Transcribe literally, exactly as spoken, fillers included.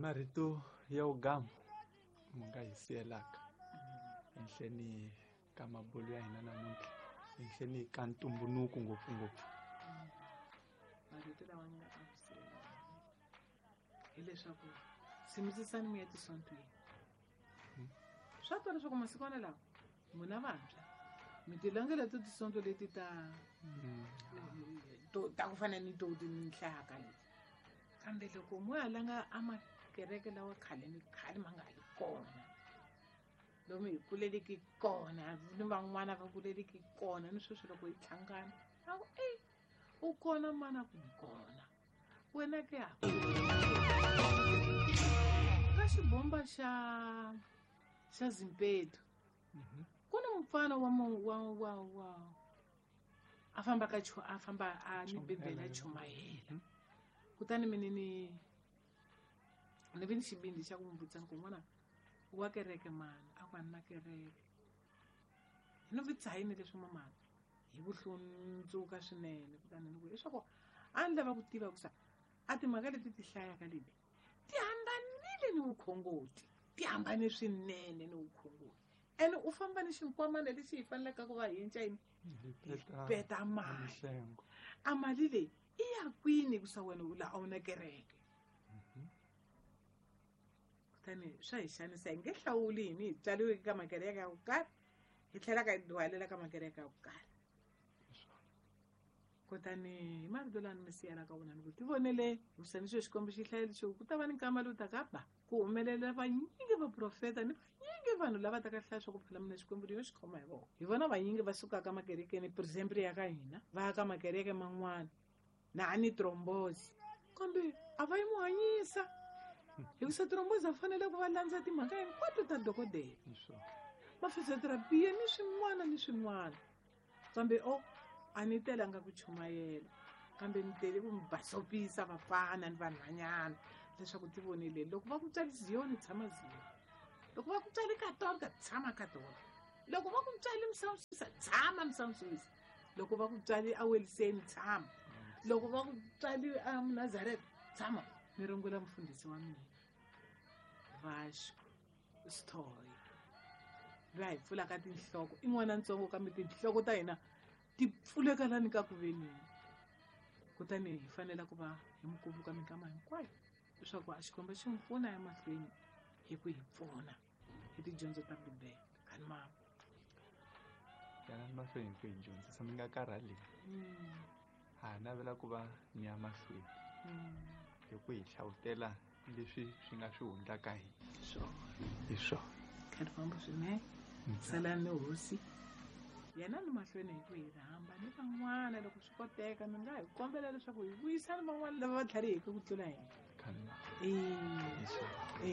Marito ya wugamu mi nga hi siyelaka enhleni ka mabulu ya hina namuntlha, enhleni ka ntumbuluko ngopfungopfu. Marito lawa ni nga ta ku siyela hileswaku tshimisisani mi ya tisontweni. Swa twa leswaku masikwana lawa n'wina vantshwa mi ti langela to tisonto leti ta to ta ku fana ni to tinhlaka leti, kambe loko mo ya langa a makereke lawa khale ni khale ma nga ha li kona, lomu hi kuleleki kona ni van'wana va kuleleki kona, ni sweswi loko hi hlangana a ku e u kona mana ku ni kona wena ke ha ka xibomba xa xa Zimpeto ku ni mufana wa wa wa wa a famba ka a famba a ni bibele a chumayela. Kutani mina ni ni vi ni xivindzi xa ku n'wi vutisa ni ku n'wana wa kereke mani, a ku a ni na kereke. Ni vutisa yini leswi mamana hi ku hlundzuka swinene. Kutani ni ku leswaku a ni lava ku tiva ku sa a timhaka leti ti hlayaka leti ti hambanile ni vukhongoti, ti hambane swinene ni vukhongoti. Ene u famba ni xinkwamana lexi hi faneleke ku va hi cinca yini peta mali. A mali leyi i ya kwini ku sa wena u la a wu na kereke? Kutani swa hi xanisa, hi nge hlawuli hini hi tswariweke ka makereke ya ku karhi hi tlhela ka hi duhalela ka makereke ya ku karhi. Kutani hi marito lawa ni mi siyelaka wona ni ku tivonele hikusa ni xo Xikwembu xi hlayele xo ku ta va ni nkama lowu taka ba ku humelela vanyingi vaprofeta ni vanyingi vanhu lava taka hlaya swa ku phela mina Xikwembu yo xi khoma hi vona. Hi vona vanyingi va sukaka makerekeni per example ya ka hina va ya ka makereke man'wana na a ni trombozi kambe a va yi mu hanyisa hikusa trombozi a fanele ku va landza timhaka hinkwato ta dokodela mafiziotherapiya ni swin'wana ni swin'wana. Kambe o a ni telanga ku chumayela kambe ni tele ku mi basopisa vafana ni vanhwanyana leswaku ti vonile loko va ku tswali Ziyoni tshama Ziyoni, loko va ku tswali Katolika tshama Katolika, loko va ku tswali Msawusisa tshama Msawusisa, loko va ku tswali Aweliseni tshama, loko va ku tswali a Nazareth tshama. Ni rungula mufundhisi wa mina Vasco Sithoye loyi a hi pfulaka tinhloko i n'wana ntsongo kambe tinhloko ta hina ti pfuleka lani ka ku veneni. Kutani hi fanele ku va hi mi kumbuka minkama hinkwayo leswaku a Xikwembu xi n'wi pfuna emahlweni hi ku hi pfuna hi tidyondzo ta Bibele. Kani mama yanani mahlweni hi ku hi dyondzisa mi nga karhali, ha navela ku va ni ya mahlweni hi ku hi hlawutela leswi swi nga swi hundzaka hina. Hi swona kani famba swinene salani ni hosi yena ni mahlweni hi ku hi rhamba ni van'wana loko swi koteka mi nga hi kombela leswaku hi vuyisana van'wana lava va tlhariheke ku tlula hina. Kani E e.